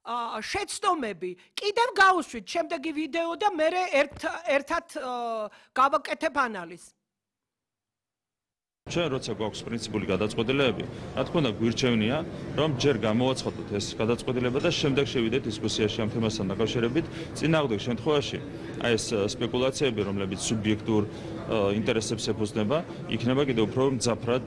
შეცდომები კიდევ გავუშვით შემდეგი ვიდეო და მე ერთად გავაკეთებ ანალიზს. ჩვენ როცა გვაქვს პრინციპული გადაწყვეტილებები, რა თქმა უნდა გვირჩევნია, რომ ჯერ გამოვაცხადოთ ეს გადაწყვეტილება და შემდეგ შევიდეთ დისკუსიაში ამ თემასთან დაკავშირებით. წინააღმდეგ შემთხვევაში, აი ეს სპეკულაციები, რომლებიც სუბიექტურ ინტერესებს ეფუძნება, იქნება კიდევ უფრო მძაფრად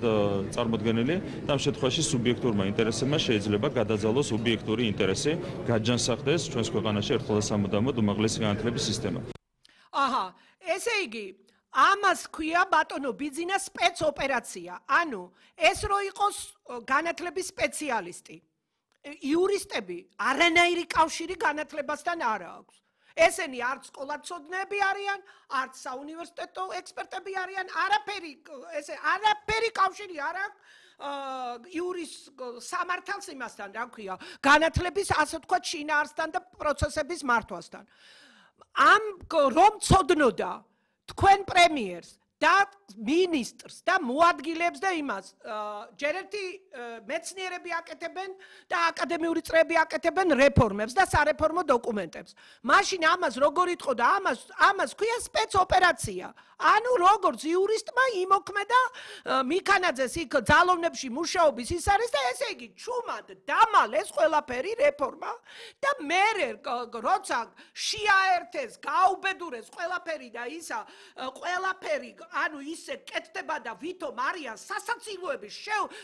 წარმოდგენილი და ამ შემთხვევაში სუბიექტურმა ინტერესებმა შეიძლება გადაძალოს ობიექტური ინტერესი, გაჯანსაღდეს ჩვენს ქვეყანაში ერთხელ და სამუდამოდ უმაღლესი განათლების სისტემა. აჰა, ესე იგი ამას ქვია ბატონო ბიძინა სპეცოპერაცია. ანუ ეს რო იყოს განათლების სპეციალისტი. იურისტები არანაირი კავშირი განათლებასთან არ აქვს. ესენი არც სკოლაცოდნეები არიან, არც საუნივერსიტეტო ექსპერტები არიან, არაფერი კავშირი არ აქვს იურის სამართალს იმასთან, რა ქვია, განათლების ასე ვთქვათ შინაარსთან და პროცესების მართვასთან. ამ რომ ცოდნოდა თქვენ პრემიერს და მინისტრს და მოადგილებს და იმას ჯერ ერთი მეცნიერები აკეთებენ და აკადემიური წრეები აკეთებენ რეფორმებს და სარეფორმო დოკუმენტებს. მაშინ ამას როგორ იტყოდა? ამას ქვია სპეცოპერაცია. ანუ როგორც იურისტმა იმოქმედა მიქანაძეს იქ ძალოვნებში მუშაობის ის არის და ესე იგი ჩუმად დამალეს ყველაფერი რეფორმა და მერე როცა შეაერთეს, გაუბედურეს ყველაფერი და ისა ყველაფერი ანუ ისე კეთდება და ვითომ არიან სასაცილოები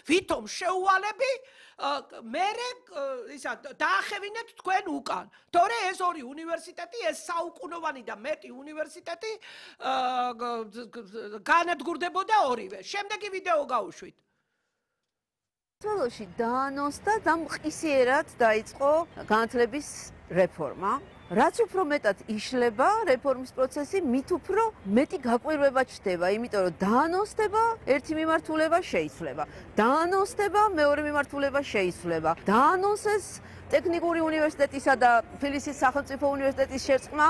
ვითომ შეუვალები მერე ისა დაახევინეთ თქვენ უკან. თორე ეს ორი უნივერსიტეტი, ეს საუკუნოვანი და მეტი უნივერსიტეტი განადგურდებოდა ორივე. შემდეგი ვიდეო გავუშვით. საქართველოში დაანონს და დამყისიერად დაიწყო განათლების რეფორმა. რაც უფრო მეტად იშლება რეფორმის პროცესი, მით უფრო მეტი გაკვირვება ჩნდება, იმიტომ რომ დაანონსდება ერთი მიმართულება შეიცვლება. დაანონსდება მეორე მიმართულება შეიცვლება. დაანონსეს ტექნიკური უნივერსიტეტისა და თბილისის სახელმწიფო უნივერსიტეტის შერწყმა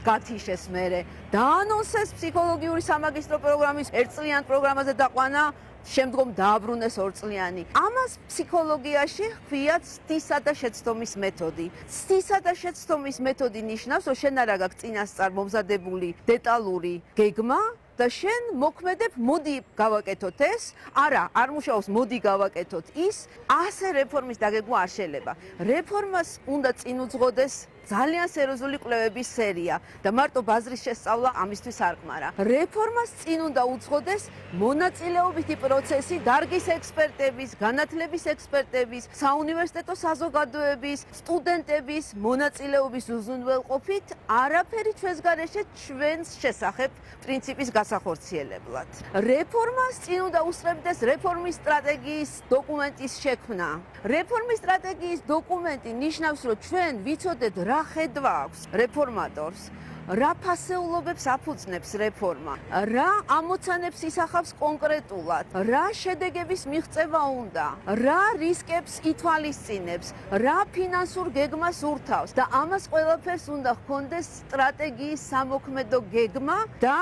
გათიშეს მერე. დაანონსეს ფსიქოლოგიური სამაგისტრო პროგრამის ერთწლიან პროგრამაზე დაყვანა, შემდგომ დააბრუნეს ორწლიანი. ამას ფსიქოლოგიაში ჰქვიათ ცდისა და შეცდომის მეთოდი. ცდისა და შეცდომის მეთოდი ნიშნავს, რომ შენ არა გაქვს წინასწარ მომზადებული დეტალური გეგმა და შენ მოქმედებ, მოდი გავაკეთოთ ეს, არ მუშაობს, მოდი გავაკეთოთ ის, ასე რეფორმის დაგეგმვა არ შეიძლება. რეფორმას უნდა წინ უძღოდეს ძალიან სერიოზული კვლევების სერია და მარტო ბაზრის შესწავლა ამისთვის არ ყმარა. რეფორმას წინ უნდა უძღოდეს მონაწილეობითი პროცესი დარგის ექსპერტების, განათლების ექსპერტების, საუნივერსიტეტო საზოგადოების, სტუდენტების მონაწილეობის უზრუნველყოფით, არაფერი ჩვენს გარეშე ჩვენს შესახებ პრინციპის გასახორციელებლად. რეფორმას წინ უნდა უსწრებდეს რეფორმის სტრატეგიის დოკუმენტის შექმნა. რეფორმის სტრატეგიის დოკუმენტი ნიშნავს, რომ ჩვენ ვიცოდეთ რა ხედვა აქვს რეფორმატორს, რა ფასეულობებს აფუძნებს რეფორმა, რა ამოცანებს ისახავს კონკრეტულად, რა შედეგების მიღწევა უნდა, რა რისკებს ითვალისწინებს, რა ფინანსურ გეგმას ურთავს და ამას ყველაფერს უნდა ჰქონდეს სტრატეგიის სამოქმედო გეგმა და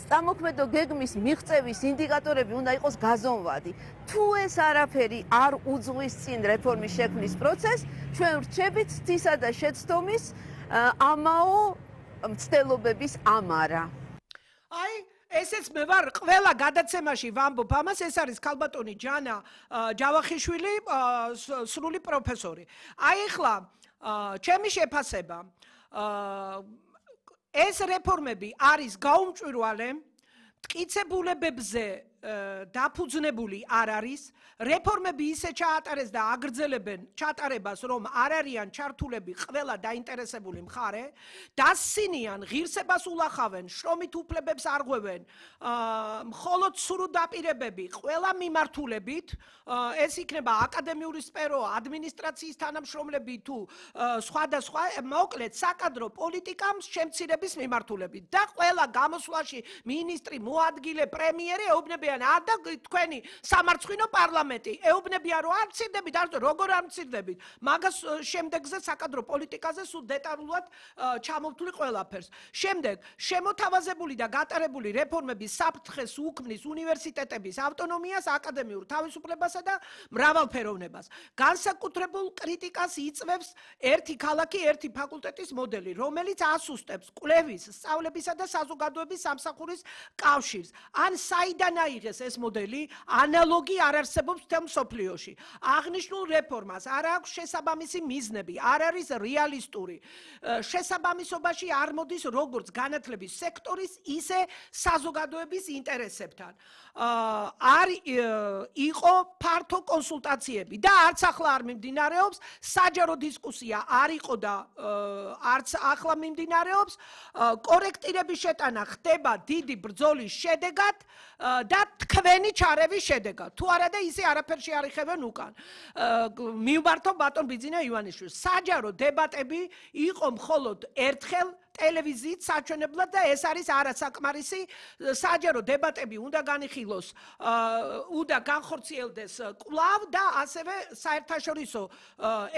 სამოქმედო გეგმის მიღწევის ინდიკატორები უნდა იყოს გაზომვადი. თუ ეს არაფერი არ უძღვის წინ რეფორმის შექმნის პროცესს, ჩვენ ვრჩებით ცდისა და შეცდომის ამაო მცდელობების ამარა. აი ესეც მე ვარ ყველა გადაცემაში ვამბობ ამას, ეს არის ქალბატონი ჯანა ჯავახიშვილი, სრული პროფესორი. აი ახლა ჩემი შეფასება ეს რეფორმები არის გაუმჭვირვალე, მტკიცებულებებზე დაფუძნებული არ არის, რეფორმები ისე ჩაატარეს და აგრძელებენ ჩატარებას, რომ არ არიან ჩართულები ყველა დაინტერესებული მხარე, დასცინიან, ღირსებას ულახავენ, შრომით უფლებებს არღვევენ, მხოლოდ სრულ დაპირებები ყველა მიმართულებით, ეს იქნება აკადემიური სფერო, ადმინისტრაციის თანამშრომლები თუ სხვადასხვა, მოკლედ საკადრო პოლიტიკამ შემცირების მიმართულებით და ყველა გამოსვლაში მინისტრი, მოადგილე, პრემიერი ეუბნები ეუბნებიან და თქვენი სამარცხვინო პარლამენტი ეუბნებიან რომ არ მცირდებით არ როგორ არ მცირდებით მაგას შემდეგზე საკადრო პოლიტიკაზე სულ დეტალურად ჩამოვთვლი ყველაფერს შემდეგ შემოთავაზებული და გატარებული რეფორმების საფრთხეს უქმნის უნივერსიტეტების ავტონომიას აკადემიურ თავისუფლებასა და მრავალფეროვნებას განსაკუთრებულ კრიტიკას იწვევს ერთი ქალაქი ერთი ფაკულტეტის მოდელი რომელიც ასუსტებს კვლევის სწავლებისა და საზოგადოების სამსახურის კავშირს ან საიდან აიღეს ეს მოდელი ანალოგი არ არსებობს მთელ მსოფლიოში აღნიშნულ რეფორმას არ აქვს შესაბამისი მიზნები არ არის რეალისტური შესაბამისობაში არ მოდის როგორც განათლების სექტორის ისე საზოგადოების ინტერესებთან არ იყო ფართო კონსულტაციები და არც ახლა არ მიმდინარეობს საჯარო დისკუსია არ იყო და არც ახლა მიმდინარეობს კორექტირების შეტანა ხდება დიდი ბრძოლის შედეგად და თქვენი ჩარევის შედეგად თუ არა და ისე არაფერში არ იხევენ უკან მივმართო ბატონ ბიძინა ივანიშვილს საჯარო დებატები იყო მხოლოდ ერთხელ ტელევიზიით საჩვენებლად და ეს არის არასაკმარისი საჯარო დებატები უნდა განიხილოს უნდა განხორციელდეს კვლავ და ასევე საერთაშორისო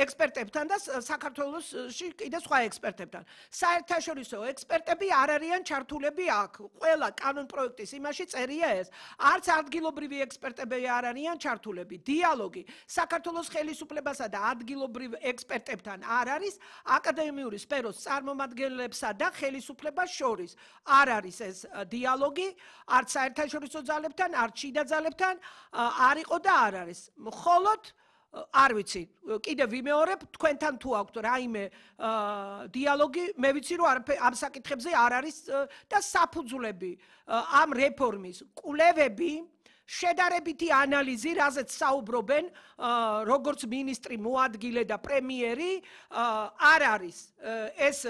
ექსპერტებთან და საქართველოში კიდე სხვა ექსპერტებთან საერთაშორისო ექსპერტები არ არიან ჩართულები აქ ყველა კანონ პროექტის იმაში წერია ეს არც ადგილობრივი ექსპერტები არ არიან ჩართულები დიალოგი საქართველოს ხელისუფლებასა და ადგილობრივ ექსპერტებთან არ არის აკადემიური სფეროს წარმომადგენლებსა და ხელისუფლებას შორის არ არის ეს დიალოგი არც საერთაშორისო ძალებთან არც შიდა ძალებთან არ იყო და არ არის მხოლოდ არ ვიცი კიდე ვიმეორებ თქვენთან თუ აქვთ რაიმე დიალოგი მე ვიცი რომ ამ საკითხებზე არ არის და საფუძვლები ამ რეფორმის კვლევები შედარებითი ანალიზი, რაზეც საუბრობენ როგორც მინისტრი მოადგილე და პრემიერი, არ არის. ეს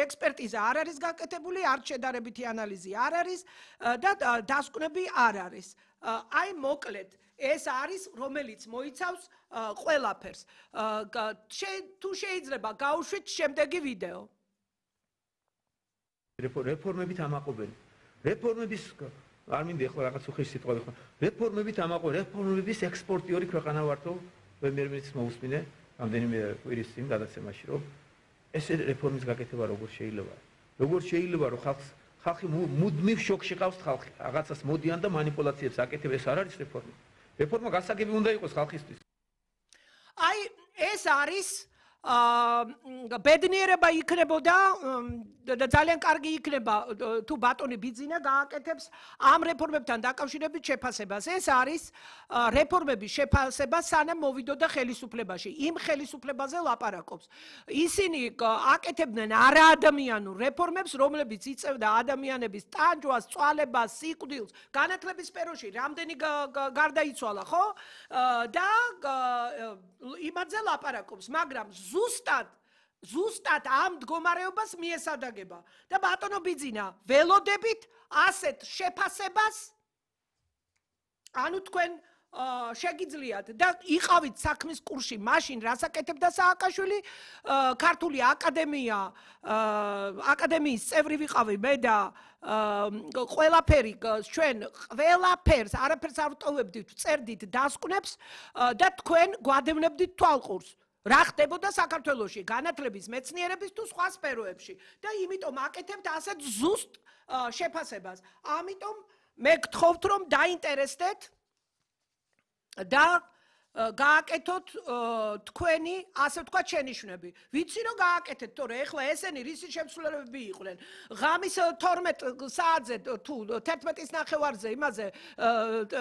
ექსპერტიზა არ არის გაკეთებული, არც შედარებითი ანალიზი არ არის და დასკვნები არ არის. აი მოკლედ ეს არის რომელიც მოიცავს ყველაფერს. თუ შეიძლება გავუშვით შემდეგი ვიდეო. რეფორმებით ამაყობენ. რეფორმების არ მინდა ახლა რაღაც უხეში სიტყვა ვიხმარ. რეფორმებით ამაყობენ. რეფორმების ექსპორტიორი ქვეყანა ვართო. პრემიერ-მინისტრის მოусმინე რამდენიმე კვირის წინ გადაცემაში რომ ეს რეფორმის გაკეთება როგორ შეიძლება. როგორ შეიძლება რომ ხალხი მუდმივ შოკში ყავს ხალხი. რაღაცას მოდიან და манипуляციებს აკეთებ ეს არ არის რეფორმა. რეფორმა გასაგები უნდა იყოს ხალხისთვის. აი ეს არის ბედნიერება იქნებოდა და ძალიან კარგი იქნება თუ ბატონი ბიძინა გააკეთებს ამ რეფორმებთან დაკავშირებით შეფასებას. ეს არის რეფორმების შეფასება სანამ მოვიდოდა ხელისუფლებაში. იმ ხელისუფლებაზე ლაპარაკობს. ისინი აკეთებდნენ არაადამიანურ რეფორმებს, რომლებიც იწევდა ადამიანების ტანჯვას, წვალებას, სიკვდილს, განათლების სფეროში რამდენი გარდაიცვალა, ხო? და იმაზე ლაპარაკობს, მაგრამ ზუსტად ამ მდგომარეობას მიესადაგება და ბატონო ბიძინა ველოდებით ასეთ შეფასებას ანუ თქვენ შეგიძლიათ და იყავით საქმის კურსში მაშინ რასაკეთებდა სააკაშვილი ქართული აკადემიის წევრი ვიყავი მე და ყველაფერი ჩვენ ყველაფერს არაფერს არ ვტოვებდით წერდით დასკვნებს და თქვენ გვადევნებდით თვალყურს რა ხდებოდა საქართველოში განათლების მეცნიერების თუ სხვა სფეროებში და იმიტომ აკეთებთ ასეთ ზუსტ შეფასებას. ამიტომ მე გთხოვთ რომ დაინტერესდეთ და გააკეთოთ თქვენი ასე ვთქვათ შენიშვნები. ვიცი რომ გააკეთეთ, თორე ეხლა ესენი რისი შემსრულებლები იყვნენ. ღამის 12 საათზე თუ 11-ის ნახევარზე იმაზე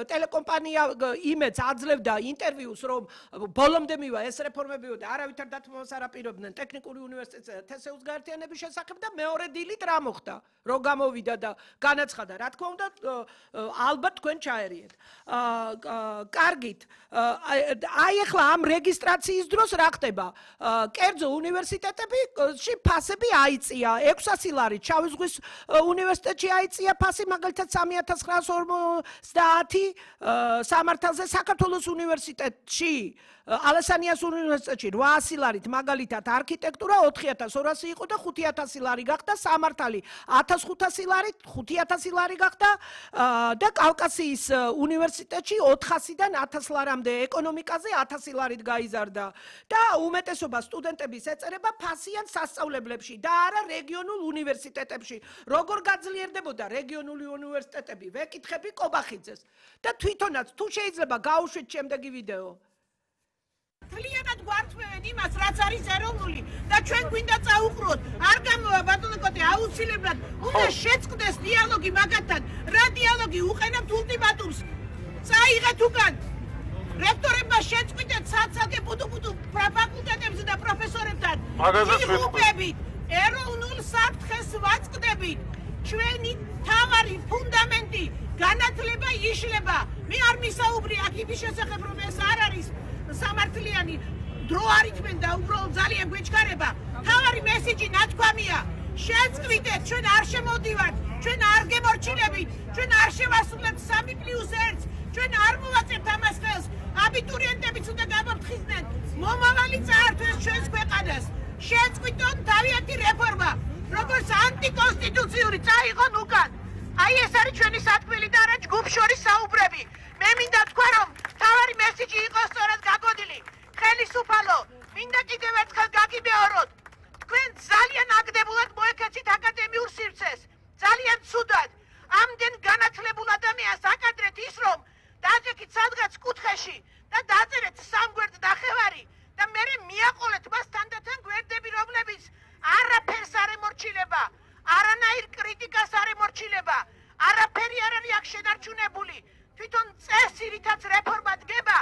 ტელეკომპანია იმედს აძლევდა ინტერვიუს რომ ბოლომდე მივა ეს რეფორმებიო და არავითარ დათმობას არ აპირებდნენ ტექნიკური უნივერსიტეტსა და თესეუს გაერთიანების შესახებ და მეორე დილით რა მოხდა? რო გამოვიდა და განაცხადა, რა თქმა უნდა, ალბათ თქვენ ჩაერიეთ. კარგით. აი ახლა ამ რეგისტრაციის დროს რა ხდება? კერძო უნივერსიტეტებში ფასები აიწია. 600 ლარი შავი ზღვის უნივერსიტეტში აიწია ფასი, მაგალითად 3950 სამართალზე საქართველოს უნივერსიტეტში ალასანიას უნივერსიტეტში 800 ლარით მაგალითად არქიტექტურა 4200 იყო და 5000 ლარი გახდა, სამართალი 1500 ლარით 5000 ლარი გახდა და კავკასიის უნივერსიტეტში 400-დან 1000 ლარამდე, ეკონომიკაზე 1000 ლარით გაიზარდა და უმეტესობა სტუდენტების ეწერება ფასიან სასწავლებლებში და არა რეგიონულ უნივერსიტეტებში. როგორ გაძლიერდებოდა რეგიონული უნივერსიტეტები? ვეკითხები კობახიძეს და თვითონაც თუ შეიძლება გაუშვით შემდეგი ვიდეო. Თლიანად გვართმევენ იმას, რაც არის ეროვნული და ჩვენ გვინდა წაუყროთ. არ გამოვა ბატონო კოტე, აუცილებლად უნდა შეწყდეს დიალოგი მაგათთან. რა დიალოგი? უყენებთ ულტიმატუმს. წაიღეთ უკან. რექტორებმა შეწყვიტეთ ცალ-ცალკე პუტუ-პუტუ ფაკულტეტებზე და პროფესორებთან. იღუპებით, ეროვნულ საფრთხეს ვაწყდებით. ჩვენი თავარი ფუნდამენტი განათლება იშლება. მე არ მისაუბრი აქ იმის შესახებ, რომ ეს არ არის სამართლიანი დრო არ ითმენ და უბრალოდ ძალიან გვეჩქარება. თავარი მესიჯი ნათქვამია. შეწყვიტეთ, ჩვენ არ შემოდივართ, ჩვენ არ გემორჩილებით, ჩვენ არ შევასრულებთ 3+1, ჩვენ არ მოვაწევთ ამას ხელს. აბიტურიენტებიც უნდა გამოფრთხილდნენ. მომავალი წაართვეს ჩვენს ქვეყანას. შეწყვიტონ თავიანთი რეფორმა, როგორც ანტიკონსტიტუციური, წაიღონ უკან. აი ეს არის ჩვენი სათქმელი და არა ჯგუფ შორის საუბრები. მე მინდა თქვა, რომ თავარი მესიჯი იყოს სწორად გაგონილი. ხელისუფალო, მინდა კიდევ ერთხელ გაგიმეოროთ. თქვენ ძალიან აგდებულად მოექცეთ აკადემიურ სივრცეს. ძალიან ცუდად. ამდენ განათლებულ ადამიანს აკადრეთ ის, რომ დააჯექით სადღაც კუთხეში და დაწერეთ სამგვერდ ნახევარი და მერე მიაყოლეთ მას თანდათან გვერდები, რომლებიც არაფერს არ ემორჩილება, არანაირ კრიტიკას არ ემორჩილება, არაფერი არ არის აქ შენარჩუნებული. თვითონ წესი, რითაც რეფორმა დგება,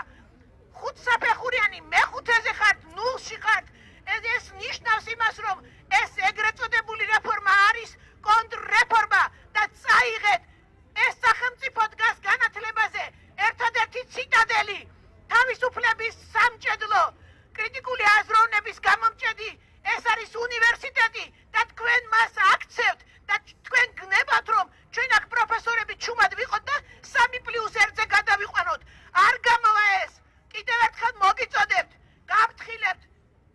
ხუთსაფეხურიანი მეხუთეზე ხართ, ნულში ხართ. ეს ნიშნავს იმას, რომ ეს ეგრეთ წოდებული რეფორმა არის კონტრრეფორმა და წაიღეთ. ეს სახელმწიფო დგას განათლებაზე, ერთადერთი ციტადელი, თავისუფლების სამჭედლო, კრიტიკული აზროვნების გამომჭედი. ეს არის უნივერსიტეტი და თქვენ მას აქცევთ და თქვენ გნებათ, რომ ჩვენ აქ პროფესორები ჩუმად ვიყოთ და 3+1-ზე გადავიყვანოთ. არ გამოვა ეს. კიდევ ერთხელ მოგიწოდებთ,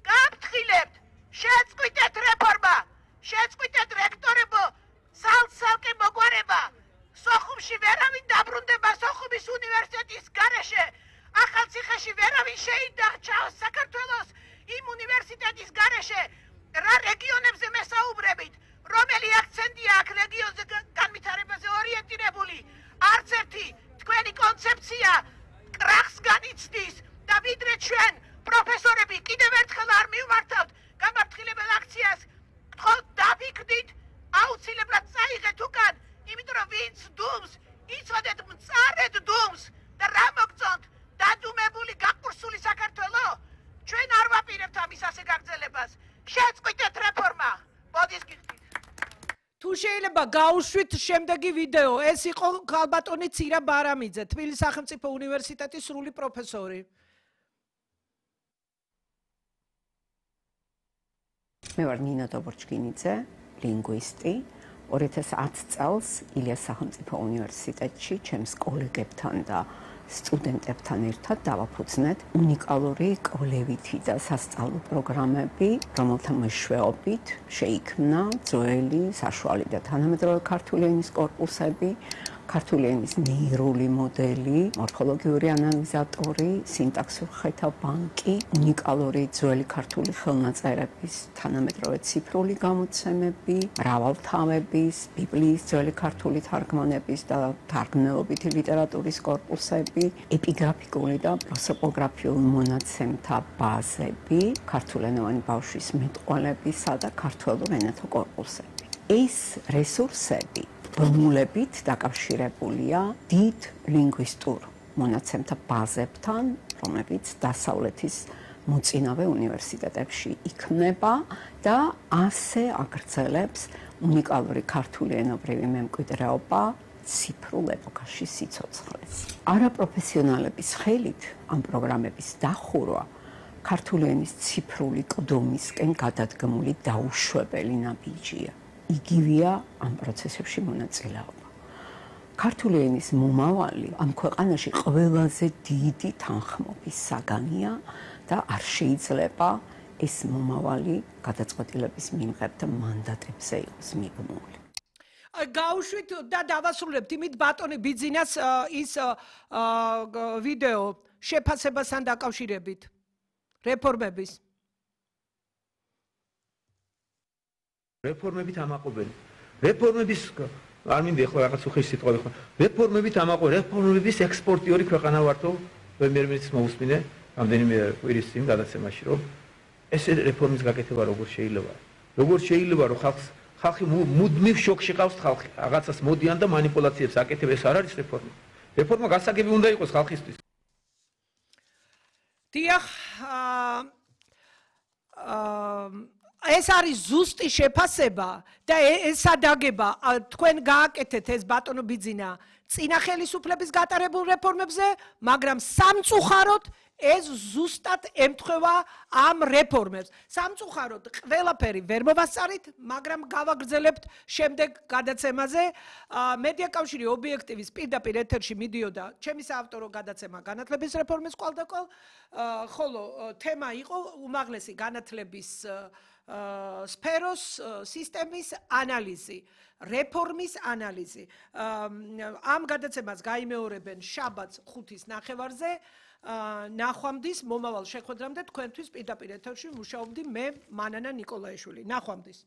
გაფრთხილებთ, შეწყვიტეთ რეფორმა, შეწყვიტეთ რექტორებო, ცალ-ცალკე მოგვარება. სოხუმში ვერავინ დაბრუნდება სოხუმის უნივერსიტეტის გარეშე. ახალციხეში ვერავინ შეიდარჩა საქართველოს იმ უნივერსიტეტის გარეშე. რა რეგიონებზე მესაუბრებით? რომელი აქცენტია აქ რეგიონზე განვითარებაზე ორიენტირებული? არც ერთი თქვენი კონცეფცია კრახს განიცდის და ვიდრე ჩვენ პროფესორები კიდევ ერთხელ არ მივმართავთ გამართილებელ აქციას. გთხოვთ დაფიქრდით, აუცილებლად წაიღეთ უკან, იმიტომ რომ ვინც დუმს, იცოდეთ მწარედ დუმს და რა მოგწონთ? დადუმებული გაყურსული საქართველო? ჩვენ არ ვაპირებთ ამის ასე გაგრძელებას. შეწყვიტეთ რეფორმა. მოდის გიხდით. თუ შეიძლება გაუშვით შემდეგი ვიდეო. ეს იყო ქალბატონი ცირა ბარამიძე, თბილისის სახელმწიფო უნივერსიტეტის სრული პროფესორი. მე ვარ ნინო დობორჩკინიძე, ლინგვისტი. 2010 წელს ილიას სახელმწიფო უნივერსიტეტში ჩემს კოლეგებთან და სტუდენტებთან ერთად დავაფუძნეთ უნიკალური კვლევითი და სასწავლო პროგრამები, რომელთა მეშვეობით შეიქმნა ძველი, საშუალო და თანამედროვე ქართული ენის კორპუსები, ქართული ენის ნეირული მოდელი, მორფოლოგიური ანალიზატორი, სინტაქსურ ხეთა ბანკი, უნიკალური ძველი ქართული ხელნაწერების თანამედროვე ციფრული გამოცემები, მრავალთავების, ბიბლიის ძველი ქართული თარგმანების და თარგმნელობითი ლიტერატურის კორპუსები, ეპიგრაფიკული და პროსოპოგრაფიული მონაცემთა ბაზები, ქართულენოვანი ბავშვის მეტყველებისა და ქართველურ ენათა კორპუსები. ეს რესურსები ბმულებით დაკავშირებულია დიდ ლინგვისტურ მონაცემთა ბაზებთან, რომლებიც დასავლეთის მოწინავე უნივერსიტეტებში იქმნება და ასე აგრძელებს უნიკალური ქართული ენობრივი მემკვიდრეობა ციფრულ ეპოქაში სიცოცხლეს. არაპროფესიონალების ხელით ამ პროგრამების დახურვა ქართული ენის ციფრული კდომისკენ გადადგმული დაუშვებელი ნაბიჯია. იგივეა ამ პროცესებში მონაწილეობა. ქართული ენის მომავალი ამ ქვეყანაში ყველაზე დიდი თანხმობის საგანია და არ შეიძლება ეს მომავალი გადაწყვეტილების მიმღებთა მანდატებზე იყოს მიღმული. გაუშვით და დავასრულებთ იმით ბატონი ბიძინას ის ვიდეო შეფასებასთან დაკავშირებით რეფორმების. რეფორმებით ამაყობენ. რეფორმების არ მინდა ახლა რაღაც უხეში სიტყვა ვიხმარ. რეფორმებით ამაყობენ. რეფორმების ექსპორტიორი ქვეყანა ვართო. პრემიერ-მინისტრის მოусმინე რამდენიმე კვირის წინ გადაცემაში რომ ეს რეფორმის გაკეთება როგორ შეიძლება. როგორ შეიძლება რომ ხალხი მუდმივ შოკში ყავს ხალხი. რაღაცას მოდიან და манипуляციებს აკეთებ, ეს არ არის რეფორმა. რეფორმა გასაგები უნდა იყოს ხალხისთვის. დიახ, ეს არის ზუსტი შეფასება და ესადაგება თქვენ გააკეთეთ ეს ბატონო ბიძინა წინა ხელისუფლების გატარებულ რეფორმებზე, მაგრამ სამწუხაროდ ეს ზუსტად ემთხვევა ამ რეფორმებს. სამწუხაროდ ყველაფერი ვერ მოვასწარით, მაგრამ გავაგრძელებთ შემდეგ გადაცემაზე. მედია კავშირი ობიექტივის პირდაპირ ეთერში მიდიოდა ჩემი საავტორო გადაცემა განათლების რეფორმის კვალდაკვალ, ხოლო თემა იყო უმაღლესი განათლების სფეროს სისტემის ანალიზი, რეფორმის ანალიზი. ამ გადაცემას გაიმეორებენ შაბათს 5:30-ზე. ნახვამდის მომავალ შეხვედრამდე თქვენთვის პირდაპირ ეთერში მუშაობდი მე მანანა ნიკოლაიშვილი. ნახვამდის.